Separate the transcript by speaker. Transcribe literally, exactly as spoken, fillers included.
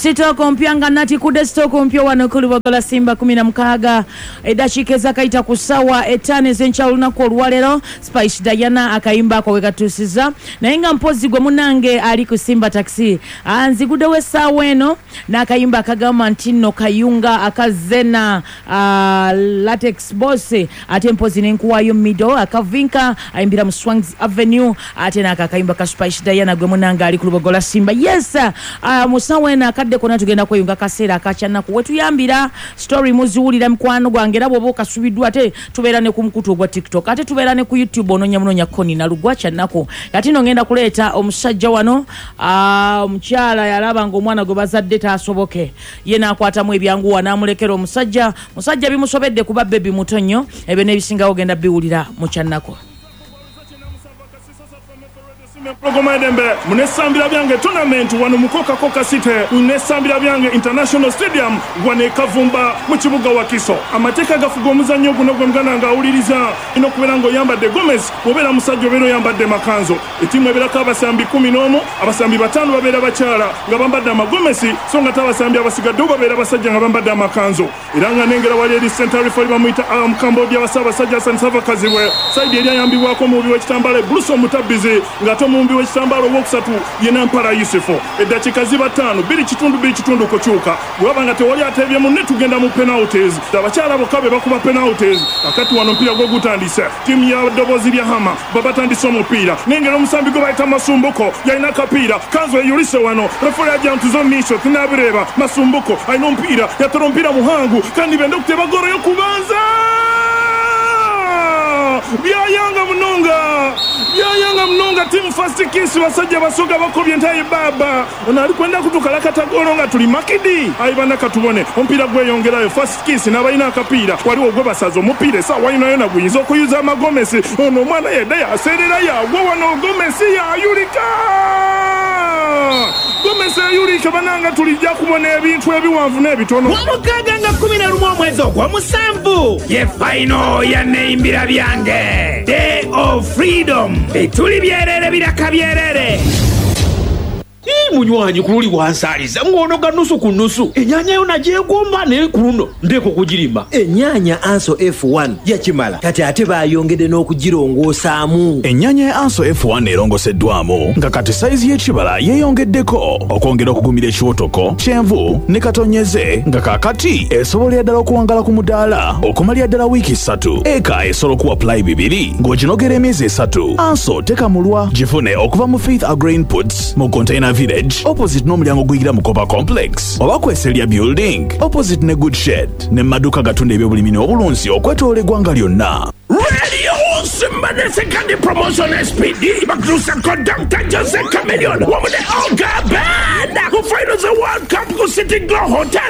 Speaker 1: Sitooko mpya nga natikudde sitooko mpya wano ku Lubogola Simba kumi na mukaaga, eddakiika ezakayita ku ssaawa ettaano ez'enkya olunaku olwaleero. Spice Diana akayimba ako we katuusiza, naye nga mpozi gwe munange ali ku Simba Taxi nziguddewo essaawa eno n'akayimba akagamba nti nno kayunga akazena uh, Latex Boss, ate mpozi nenkuwayo Mido akavinka ayimbira mu Swangs Avenue, ate n'ako akayimba ka Spice Diana gwe munange ali ku Lubogola Simba. Yes, uh, mu ssaawa eno akadde konna tugenda kweyunga kaseera akakyannaku wetuyambira story muziwulira mukwano gwange, era bw'oba okasubiddwa ate tubeera ne ku mukutu ogwa TikTok, ate tubeera ne ku YouTube, onoonya munoonya Koni Nalugwa kyannaku. Kati nno ngenda kuleeta omusajja wano, omukyala yalaba ng'omwana gwe bazadde taasoboke, ye n'akwatamu ebyanguwa n'amulekera omusajja. Musajja bimusobedde kuba bebi muto nnyo, ebyo n'ebisingawo genda biwulira mu kyannaku.
Speaker 2: Empologoma edembe munesambira byange tournament wano mu Coca-Cola City, munesambira byange International Stadium wano e Kavumba mu kibuga Wakiso. Amateeka gafuga omuzannyo guno gwe muganda nga awuliriza ino okubeera ng'oyambadde gomesi, bw'obeera musajja obeera oyambadde makanzo. Ettiimu ebeerako abasambi kumi n'omu, abasambi bataano babeera bakyala nga bambadde amagomesi, so nga ate abasambi abasigaddewo babeera basajja nga bambadde amakanzo. Era nga nengera wali eri center referee bamuyita Cambodia wa Ssaabasajja Hassan Sava Kazibwe, sayidi eri ayambibwako omuwubi w'ekitambaala Bruce Omutabbizi, ng'ate omumbi w'ekitambaala owookusatu ye Nampala Yusufu. Eddakiika ziba ttaano, bbiri kitundu bbiri kitundu kukyuka. Bwe waba nga tewali ateebye munne tugenda mu penalties. Abakyala bokka be bakuba penalties. Kakati wano omupiira gwo gutandise. Ttiimu ya Ddoboozi lya Hama babatandise omupiira. Nengera omusambi gwe bayita Masumbuko yalina akapiira, kanzu eyulise wano. Referee ajja ntuzo miisho tinaabireeba. Masumbuko alina omupiira, yatera omupiira muhangu kandi benda okuteba ggoolo y'okubanza. Byayanga munonga, byayanga munonga. Timu First Kiss basajja basoga bakobye ntaye baba ono ali kwenda kutukala katagolo nga tuli makidi ayi bana katubone omupiira gweyongerayo. First Kiss n'abalina akapiira waliwo gwe basaza omupiira essaawa yino yona guyinza okuyuza amagomesi. Ono omwana yedda yaseerera yagwa wano, gomesi yayulika, gomesi eyulika. Bananga tulijja kubona ebintu ebiwanvu n'ebitono.
Speaker 3: Wamukaaga nga kkumi na lumu omwezi ogw'omusanvu ye fayino ya Neyimbira Byange Day of Freedom, bituli byerere biraka byerere.
Speaker 4: Munywanyi ku luli wansaaliza ng'onoga nusu ku nusu, ennyaanya yo nagyegomba naye ku luno ndeeka okugirima.
Speaker 5: Ennyaanya Anso F one yakimala, kati ate baayongedde n'okugirongoosaamu.
Speaker 6: Ennyaanya ya Anso F one erongoseddwamu nga kati sayizi y'ekibala yeeyongeddeko okwongera okugumira ekiwotoko, kyenvu ne katonyeze, nga kaakati esobolera ddala okuwangala ku mudaala okumalira ddala wiiki ssatu. Eka esobola okuwa pulayi bibiri ng'oginogera emyezi esatu. Anso tekamulwa, gifune okuva mu Faith Agro Inputs mu Container Village opposite n'omulyango guyingira mu Copa Complex oba Kweselya Building opposite ne Good Shed ne maduka gatunda ebyobulimi n'obulunzi okwetoloola eggwanga lyonna.
Speaker 3: Radio Simba the second promotion S P D bakutuusako Doctor Jose Chameleone wamu ne Olga Band ku finals za World Cup ku City Glow Hotel